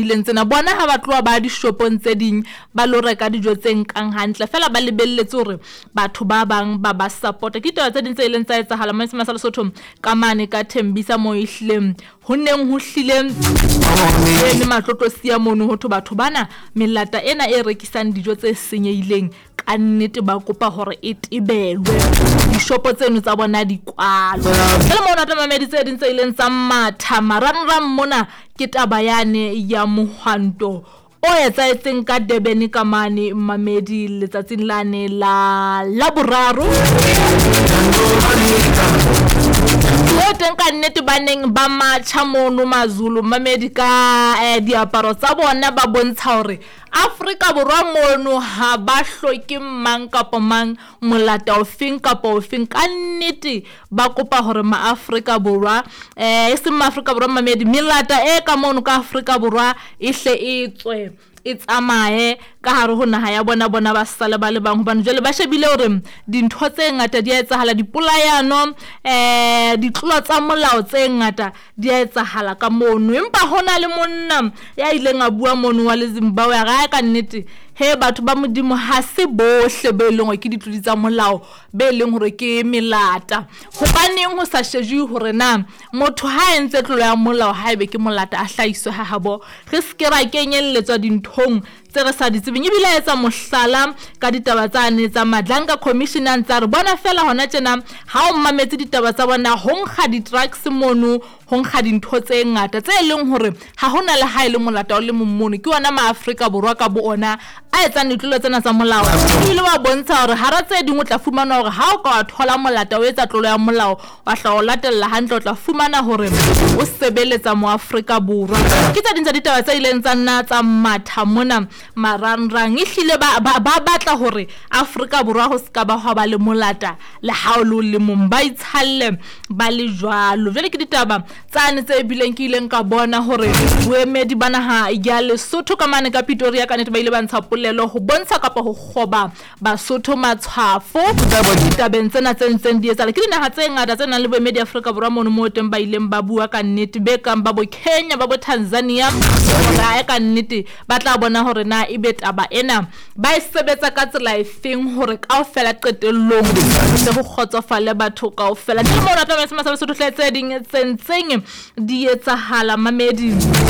senyehileng tsena. Bona ha ba tloha ba dishopong tse ding ba lo reka dijo tse nkang hantle, feela ba lebelletse hore batho ba bang ba ba support-e. Ke ditaba tse ding tse ileng tsa etsahala mane Sema sa Lesotho ka mane ka Thembisa moo ehlileng ho neng ho hlile ho eme matlotlosia mono ho thwe batho bana melata ena e rekisang dijo tse senyehileng kannete ba kopa hore e tebelwe, dishopo tseno tsa bona di kwalwe. Jwale moo natla mamedi tse ding tse ileng tsa matha marangrang mona ke taba yane ya mohwanto o etsahetseng ka Durban ka mane mamedi letsatsing lane la Laboraro. Moo teng ka nnete ba neng ba matjha mono Mazulu mamedi ka diaparo tsa bona ba bontsha hore Afrika Borwa mono ha ba hloke mang kapa mang, molata ofeng kapa ofeng. Ka nnete ba kopa hore Maafrika Borwa, e seng Maafrika Borwa mamedi, melata e ka mono ka Afrika Borwa e hle e tswe e tsamaye ka hare ho naha ya bona, bona ba sale ba le bang. Hobane jwale ba shebile hore dintho tse ngata di a etsahala, dipolayano, ditlolo tsa molao tse ngata di a etsahala ka mono. Empa ho na le monna ya ileng a bua mono wa le Zimbabwe a re, Ae ka nnete, he batho ba Modimo, ha se bohle be leng hore ke ditlodi tsa molao, be leng hore ke melata. Hobaneng ho sa shejuwe hore na motho ha a entse tlolo ya molao haebe ke molata a hlahiswe ha habo, re se ke ra kenyelletswa dinthong tse re sa di tsebeng. Ebile a etsa mohlala ka ditaba tsane tsa Madlanga Commission a ntse a re, bona feela hona tjena ha o mametse ditaba tsa bona ho nkga di-drugs mono, ho nkga dintho tse ngata tse leng hore ha ho na le ha e le molata o le mong mono. Ke ona Ma-Afrika Borwa ka bo ona a etsang ditlolo tsena tsa molao. Ebile wa bontsha hore hara tse ding o tla fumana hore ha o ka wa thola molata o etsa tlolo ya molao, wa hla o latella hantle o tla fumana hore o sebeletsa Moafrika Borwa. Ke tse ding tsa ditaba tse ileng tsa nna tsa matha mona marangrang. Ehlile ba, ba, ba batla hore Afrika Borwa ho se ka ba hwa ba le molata le ha o le o le mong, ba itshalle ba le jwalo. Jwale ke ditaba tsane tse bileng ke ileng ka bona hore boemedi ba naha ya Lesotho ka mane ka Pretoria ka nnete ba ile ba ntsha polelo ho bontsha kapa ho kgoba Basotho matshwafo ditabeng tsena tse ntseng di etsahala. Ke dinaha tse ngata tse nang le boemedi Afrika Borwa mono moo teng ba ileng ba bua ka nnete, be kang ba bo Kenya, ba bo Tanzania, hore ae ka nnete ba tla bona hore na ebe taba ena ba e sebetsa ka tsela efeng hore kaofela qetellong ho tle ho kgotsofale batho kaofela. Ntle le mono, tla ba Sesotho hle tse ding tse ntseng di etsahala mamedi.